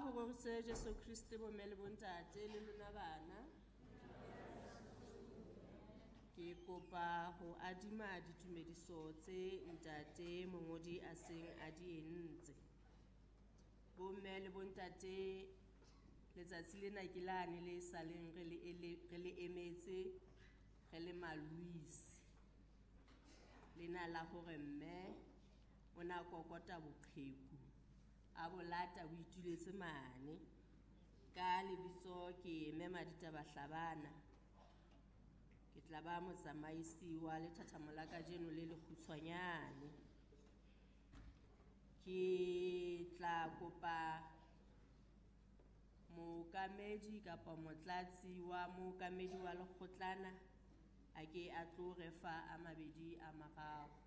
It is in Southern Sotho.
Ho roriswe Jesu Kriste, bomme le bontate le lona bana. Ke kopa ho adima ditumediso tse ntate mongodi a seng a di entse. Bomme le bontate, letsatsi lena ke lane le saleng re le re le emetse re le Maluisi. Lena la hore mme o na kokota boqheku, a bo lata bo ituletse mane. Ka lebitso ke Mme Maditaba Hlabana. Ke tla ba motsamaisi wa lethathamo la kajeno le lekgutshwanyane. Ke tla kopa mookamedi kapa motlatsi wa mookamedi wa lekgotlana a ke a tlo re fa a mabedi a mararo.